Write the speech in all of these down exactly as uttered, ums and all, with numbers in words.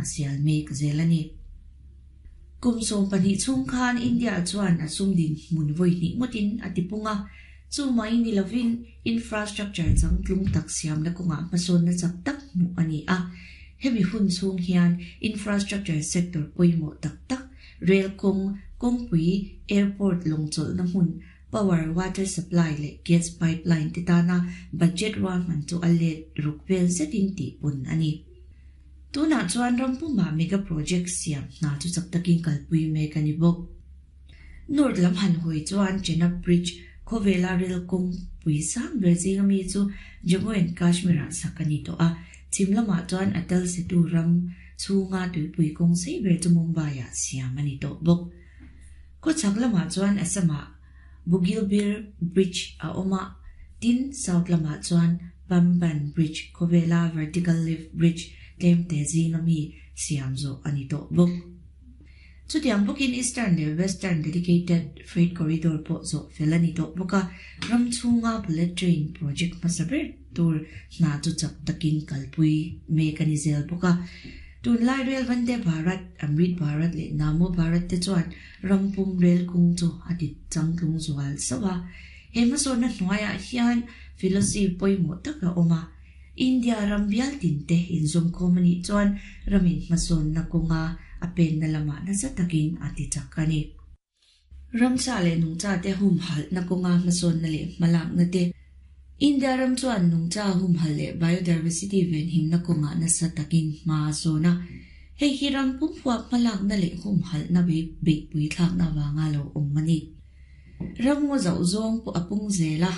a sial mek zel a ni. Kum sawm pahnih chhung khan India chuan a sum dinhmun vawi hnih ngawtin a tipung a, chu mai ni lovin infrastructure changtlung tak siamna kawngah hmasawnna chak tak hmuh a ni a. Hemi hun chhung hian infrastructure sector pawimawh tak tak, rail kawng, kawngpui, airport lawngchawlhna hmun, power, water supply leh gas pipeline te tana budget ruahman chu a let ruk vel zetin tihpun a ni. Tunah chuan ram pumah mega project siam hna chu chak takin kalpui mek a ni bawk. North lam han hawi chuan Chenab Bridge khawvela rail kawngpui sang ber zinga mi chu Jammu and Kashmir ah sak a ni tawh a, chhim lamah chuan Atal Setu ram chhunga tuipui kawng sei ber chu Mumbai ah siam a ni tawh bawk. Khawchhak lamah chuan Assam ah Bogibeel Bridge a awm a, tin South lamah chuan Pamban Bridge khawvela vertical lift bridge tlem te zinga mi siam zawh a ni tawh bawk. Chutiang bawkin Eastern leh Western Dedicated Freight Corridor pawh zawh fel a ni tawh bawk a, ram chhunga bullet train project hmasa ber tur hna chu chak takin kalpui mek a ni zel bawk a. Tunlai Rail Vande Bharat, Amrit Bharat leh Namo Bharat te chuan ram pum rail kawng chu a ti changtlung zual sauh a. He hmasawnna hnuaiah hian philosophy pawimawh tak a awm a. India ram bial tin te inzawmkhawm a nih chuan ramin hmasawnna kawnga a penna lamah nasa takin a ti chak a ni. Ramsa leh nungcha te humhalhna kawnga hmasawnna leh hmalakna te. India ram chuan nungcha humhalh leh biodiversity venhimna kawngah nasa takin hma a sawn a. Hei hi ram pum huap hmalakna leh humhalhna beihpui thlakna avanga lo awm a ni. Ram ngaw zauh zawng pawh a pung zel a,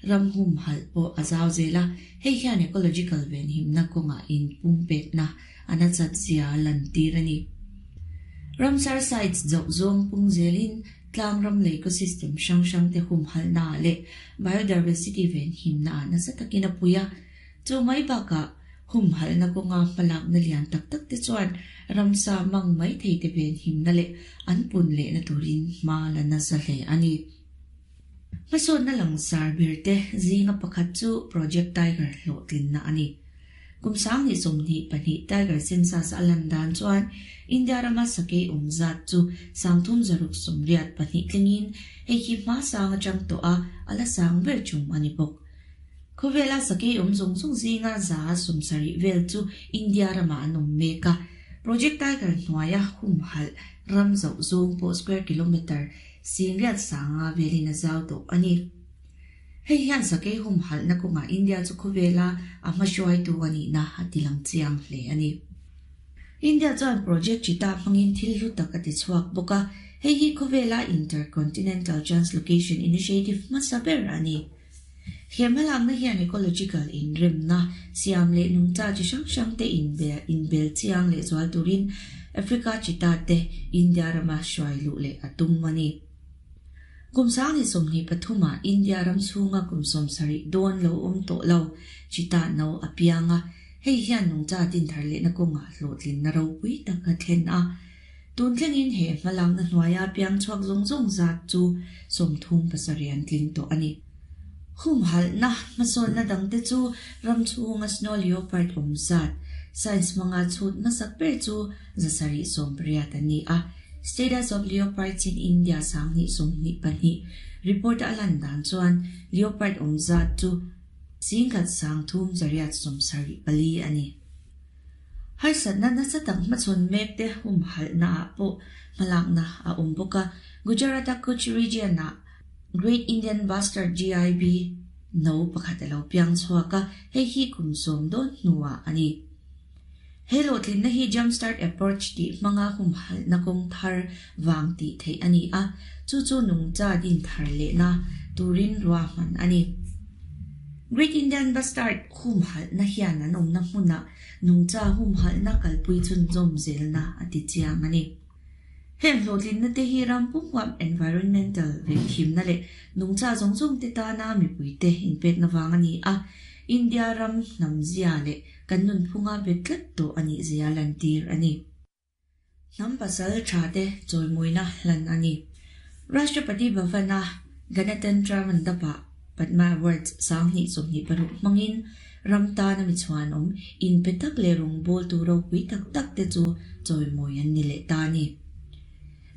ram humhalh pawh a zau zel a, hei hian ecological venhimna kawngah in pumpekna a nachat zia a lantir a ni. Ramsar sites zauh zawng pung zelin tlang ram leh ecosystem hrang hrang te humhalhna ah leh biodiversity venhimna ah nasa takin a pui a. Chu mai bakah humhalhna kawnga hmalakna lian tak tak te chuan ramsa mang mai thei te venhimna leh an pun lehna turin hma la nasa hle a ni. Hmasawnna langsar ber te zinga pakhat chu Project Tiger hlawhtlinna a ni. Kum sanghnih sawmhnih pahnih Tiger census a lan dan chuan India rama sakei awm zat chu sangthum zaruk sawmriat pahnih tlingin hei hi hma sang atang tawh a, a la sang ber tum a ni bawk. Khawvela sakei awm zawng zawng zinga za sawmsarih vel chu India ramah an awm mek a. Project Tiger hnuaia humhalh ram zauh zawng pawh square kilometre singriat sanga velin a zau tawh a ni. Hei hian sakei humhalhna kawngah India chu khawvela a hmahruaitu a nihna a ti lang chiang hle a ni. India chuan Project Cheetah hmangin thil hlu tak a ti chhuak bawk a, hei hi khawvela Intercontinental Translocation Initiative hmasa ber a ni. He hmalakna hian ecological inremna siam leh nungcha chi hrang hrang te inbel chiang leh zual turin Africa Cheetah te India rama hruai luh leh a tum a ni. Kum sanghnih sawmhnih pathumah India ram chhunga kum sawmsarih dawn lo awm tawh lo Cheetah no a piang a, hei hian nungcha din thar lehna kawngah hlawhtlinna ropui tak a thlen a. Tun thlengin he hmalakna hnuaia piang chhuak zawng zawng zat chu sawmthum pasarih an tling tawh a ni. Humhalhna hmasawnna dangte chu ram chhunga snow leopard awm zat science hmanga chhut hmasak ber chu zasarih sawmpariat an ni a. Status of Leopards in India sanghnih sawmhnih pahnih report a lan dan chuan leopard awm zat chu singkhat sangthum zariat sawmsarih pali a ni. Harsatna nasa tak hmachhawn mek te humhalhna ah pawh hmalakna a awm bawk a. Gujarat-a Kutch region ah Great Indian Bustard G I B no pakhat a lo piang chhuak a, hei hi kum sawm dawn hnuah a ni. He hlawhtlinna hi Jumpstart Approach tih hmanga humhalhna kawng thar vang tih theih a ni a, chu chu nungcha din thar lehna turin ruahman a ni. Great Indian Bustard humhalhna hian an awmna hmunah nungcha humhalhna kalpui chhunzawm zelna a ti chiang a ni. Heng hlawhtlinna te hi ram pum huam environmental venhimna leh nungcha zawng zawng te tana mipuite inpekna vang a ni a, India ram hnam zia leh kan nunphunga bet tlat tawh a nih zia lantir a ni. Hnam pasal tha te chawimawina hlan a ni. Rashtrapati Bhavana Ganatantra Mandapa Padma Awards sanghnih sawmhnih paruk hmangin ram tana mi chuan awm in pe tak le rawng bawl tu ropui tak tak te chu chawimawi an ni leh ta a ni.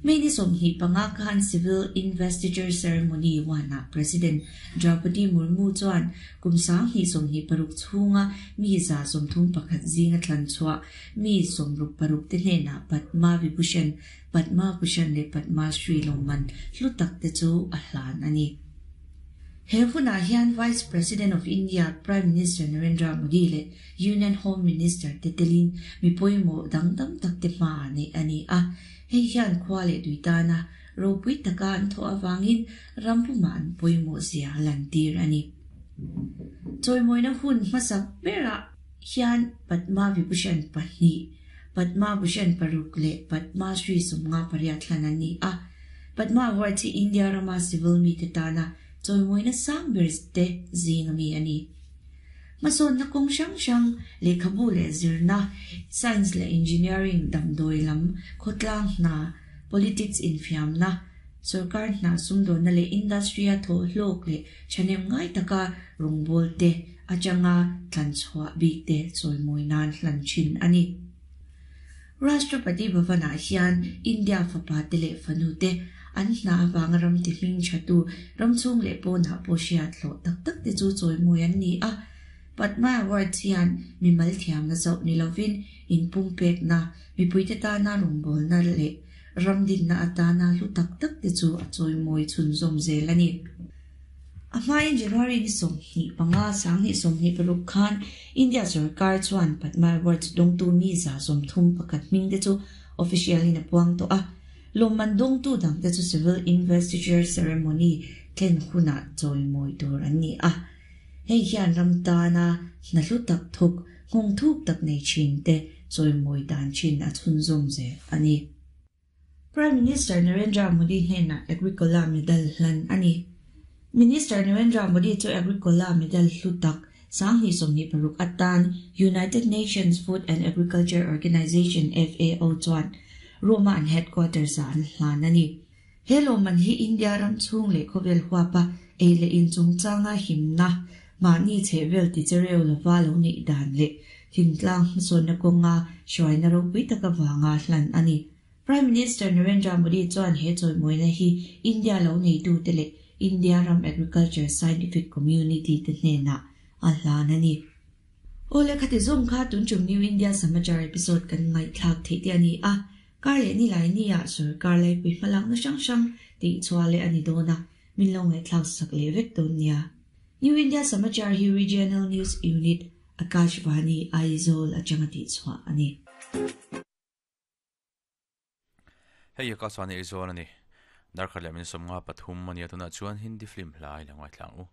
May ni sawmhnih panga khan Civil Investiture Ceremony one ah President Draupadi Murmu chuan kum sanghnih sawmhnih paruk chhunga mi za sawmthum pakhat zinga thlan chhuah mi sawmruk paruk te hnenah Padma Vibhushan, Padma Bhushan leh Padma Shri lawmman hlu tak te chu a hlan a ni. He hunah hian Vice President of India Prime Minister Narendra Modi leh Union Home Minister te telin mi pawimawh dang tam tak te hmaah neih a ni a. Hei hian khua leh tui tana ropui taka an thawh avangin ram pumah an pawimawh zia a lantir a ni. Chawimawina hun hmasak berah hian Padma Vibhushan pahnih, Padma Bhushan paruk leh Padma Shri sawmnga pariat hlan an ni a. Padma Awards hi India rama civil mite tana chawimawina sang ber te zing ami a ni. Hmasawnna kawng hrang hrang, lehkhabu leh zirna, science leh engineering, damdawi lam, khawtlang hna, politics infiamna, sorkar hna sumdawnna leh industry-a thawh hlawk leh thahnem ngai taka rawngbâwl te atanga thlan chhuah bik te chawimawi nan hlan thin a ni. Rashtrapati Bhavan-ah hian India fapa te leh fanu te an hna avanga ram ti hming thatu ram chhung leh pawnah pawh hriat hlawh tak tak te chu chawimawi an ni a. Padma Awards hian mimal thiamna chauh ni lovin inpumpekna, mipuite tana rawngbawlna leh ram dinna atana hlu tak tak te chu a chawimawi chhunzawm zel a ni. A hmain January ni sawmhnih panga sanghnih sawmhnih paruk khan India sorkar chuan Padma Awards dawngtu mi za sawmthum pakhat hming te chu official in a puang tawh a. Lawmman dawngtu dang te chu Civil Investiture Ceremony thlen hunah chawimawi tur an ni a. Hei hian ram tana hna hlu tak thawk, nghawng thuk tak nei thin te chawimawi dan thin a chhunzawm zel a ni. Prime Minister Narendra Modi hnenah Agricola Medal hlan a ni. Minister Narendra Modi chu Agricola Medal hlu tak sanghnih sawmhnih paruk atan United Nations Food and Agriculture Organization, F A O, chuan Rome-a an headquarters ah an hlan a ni. He lawmman hi India ram chhung leh khawvel huapa ei leh in chungchanga himna, mahni chhehvel tichereu lova lo neih dan leh thingtlang hmasawnna kawnga hruaina ropui tak avanga hlan a ni. Prime Minister Narendra Modi chuan he chawimawina hi India lo neitute leh India ram agriculture scientific community te hnenah a hlan a ni. Awle, khati zawng kha tun tum New India Samachar episode kan ngaihthlak theih te a ni a. Kar leh ni lai ni ah sorkar laipui hmalakna hrang hrang tih chhuah leh a ni dawn a, min lo ngaihthlak sak leh vek dawn nia. New India Samachar hi Regional News Unit, Akashvani Aizawl atanga tih chhuah a ni. Hei Akashvani Aizawl a ni. Darkhat leh min sawmnga pathum a nia, tunah chuan Hindi film hlai la ngaithlang u.